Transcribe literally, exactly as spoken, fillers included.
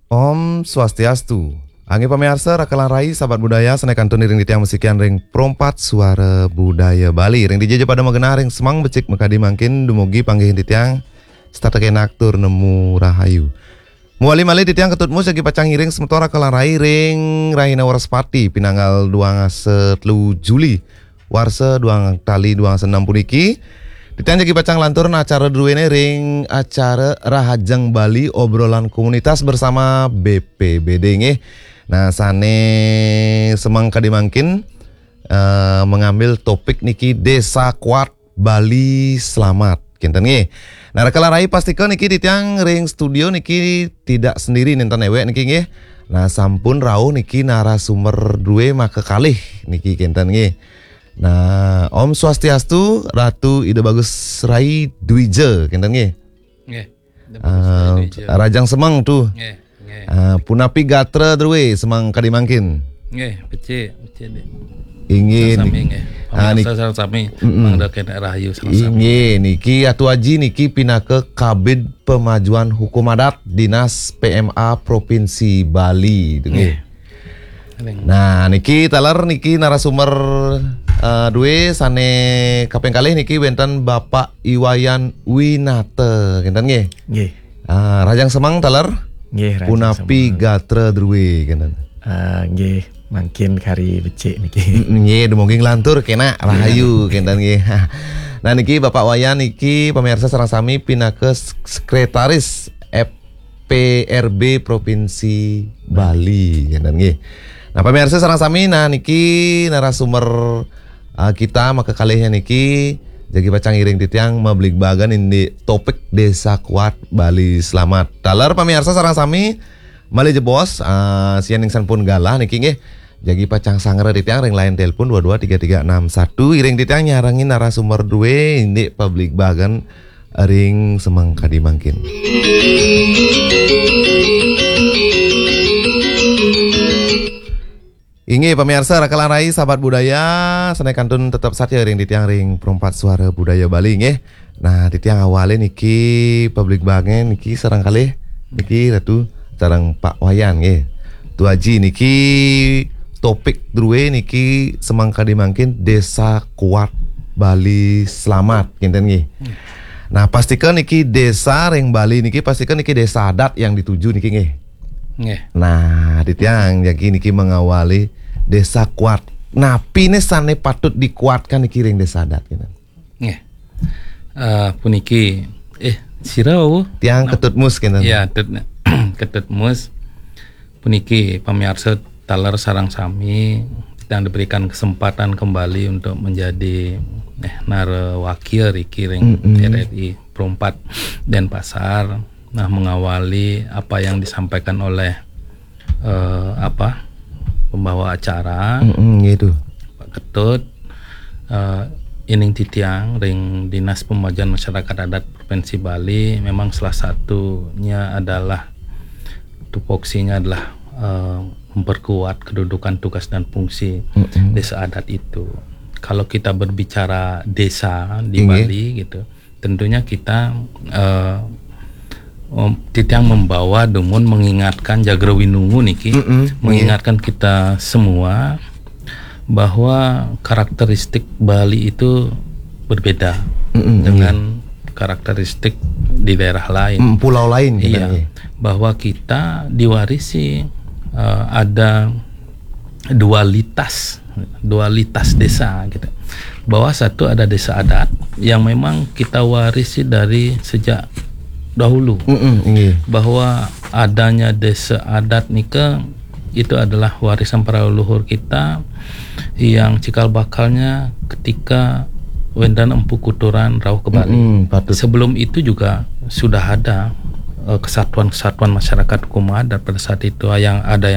Om Swastiastu. Inggih pamiarsa, raka lan rai, sahabat budaya, sané kantun iring titiang masikian ring Perempat Suara Budaya Bali. Ring dija ja pada magenah ring semeng becik makadi mangkin, dumugi panggihin titiang setata kenak tur nemu rahayu. Mawali malih titiang Ketut Mus jagi pacang ngiring semeton raka lan rai ring rahina Wrespati, pinanggal duang dasa telu Juli, warsa duang tali duang dasa enem puniki. Titiang jagi pacang lantur acara druéné ring acara Rahajeng Bali, obrolan komunitas bersama B P B D nggih. Nah, sané semeng kadi mangkin, eh, mengambil topik niki Desa Kuat Bali Selamat. Kinten nggih. Nah, raka lan rai, pastika niki titiang ring studio niki tidak sendiri, nénten éwék niki nggih. Nah, sampun rauh niki narasumber drué makakalih niki kinten nggih. Nah, Om Swastiastu, Ratu Ida Bagus Rai Dwija, kinten nggih. Nggih. Ida Bagus Rai Ah, Dwija. Rahajeng semeng tu. Nggih, nggih. Ah, punapi gatra drué semeng kadi mangkin? Nggih, becik, becik, Dik. Inggih, sami niki. Nggih. Ah, pamiarsa niki sareng sami, mm-mm, mangda kenak rahayu sareng sami. Inggih, niki Atu Aji niki pinaka Kabid Pemajuan Hukum Adat Dinas P M A Provinsi Bali, tu nggih. Nggih. Nah, niki taler niki narasumber, eh, drué sané kaping kalih niki wénten Bapak I Wayan Winata, kinten nggih? Nggih. Ah, rahajeng semeng taler? Nggih, rahajeng semeng. Punapi gatra drué, kinten? Ah, nggih, mangkin kari becik niki. Mm, nggih, dumugi nglantur kenak rahayu, kinten nggih. Nah, niki Bapak Wayan niki pamiarsa sareng sami pinaka sek-, sekretaris P R B Provinsi Bali, kinten nggih. Nah, pamiarsa sareng sami, nah niki narasumber, ah, kita makakalihnya niki jagi pacang ngiring titiang mabligbagan indik topik Desa Kuat Bali Selamat. Taler pamiarsa sareng sami, malih jebos, ah, sianing sampun galah niki nggih. Jagi pacang sangra titiang ring line telepon dua dua tiga tiga enam satu, iring titiang nyarengin narasumber drué indik pabligbagan ring semeng kadi mangkin. Inggih, pamiarsa, raka lan rai, sahabat budaya, sané kantun tetep satia ring titiang ring Perempat Suara Budaya Bali, nggih. Nah, titiang awalin niki pabligbagan niki sareng kalih niki Ratu sareng Pak Wayan, nggih. Tu Aji niki topik drué niki semeng kadi mangkin Desa Kuat Bali Selamat, kinten nggih. Nah, pastika niki desa ring Bali niki pastika niki desa adat yang dituju niki nggih. Nggih. Nah, titiang jagi niki mengawali Desa Kuat. Napiné sané patut dikuatkan niki ring desa adat, kinten? Nggih. Eh, puniki, eh, sira wau? Tiang Ketut Mus, kinten. Iya, Tut-, Ketut Mus. Puniki pamiarsa taler sareng sami, yang diberikan kesempatan kembali untuk menjadi, eh, narawakia riki ring Mm-mm. R R I Pro empat Denpasar. Nah, mengawali apa yang disampaikan oleh, eh, apa, pembawa acara, mm-mm, gitu. Pak Ketut, eh, ining titiang ring Dinas Pemajuan Masyarakat Adat Provinsi Bali, memang salah satunya adalah tupoksinya adalah, eh, memperkuat kedudukan, tugas dan fungsi, mm-mm, desa adat itu. Kalau kita berbicara desa di, inggih, Bali gitu, tentunya kita, eh, mem-, titiang membawa dumun mengingatkan jagra winungu niki, mm-mm, inggih, mengingatkan kita semua bahwa karakteristik Bali itu berbeda, mm-mm, dengan, iya, karakteristik di daerah lain. Mm, pulau lain kita, iya, nggih. Bahwa kita diwarisi, eh, ada dualitas, dualitas desa gitu. Bahwa satu ada desa adat yang memang kita warisi dari sejak dahulu. Mm-mm, nggih. Bahwa adanya desa adat nika itu adalah warisan para leluhur kita yang cikal bakalnya ketika wénten Empu Kuturan rauh ke Bali. Mm-mm, patut. Sebelum itu juga sudah ada, eh, kesatuan-kesatuan masyarakat hukum adat pada saat itu, yang ada yang